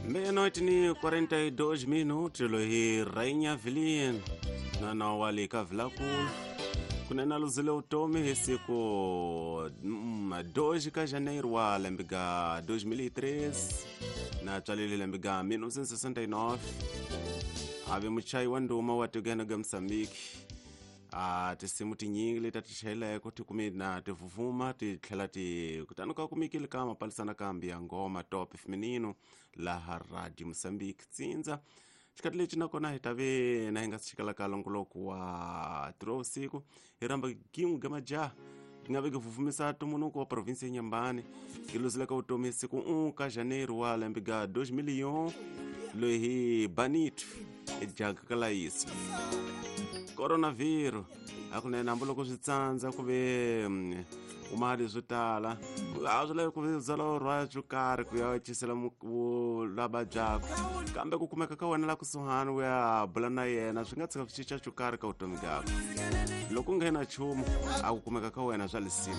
Meia-noite ni 42 minutos, loyi Rainha Vilien nana wa le ka Vilakulu kunene a luzile vutomi hi siku 2 ka janeiro wa lembe ga 2003 na tswalele lembe ga 1969 a ve muchayi wa ndhuma wa tikweni ga Mozambique. A tinsimu tinyingi leti a ti chayeleko ti kume na ti vuvuma ti tlhela ti kutani ka kumekile ka mapalisana kambi ya ngoma top feminino laha Radio Mozambique tsindza. Xikati lexi nakona hi ta ve na hi nga si xikala ka longoloko wa tiro vusiku hi rhamba gin'we ga majaha ti nga veki vuvumisa tumunuko wa provinsi ya Nyambani yi luzile ka vutomi siku 1 ka janeiro wa lembe ga 2001 loyi hi Banito ejaga ka layisi coronavirus. Hakunene hambiloko swi tsandza ku ve mali swo tala a swi lavi ku ve byala rhwala swo karhi ku ya cisela la vabyaka, kambe ku kumeka ka wena la kusuhani u ya bula na yena swi nga tshika swi cinca xo karhi ka vutomi byakwe. Loko u nga na nchumu a ku kumeka ka wena swa lisima.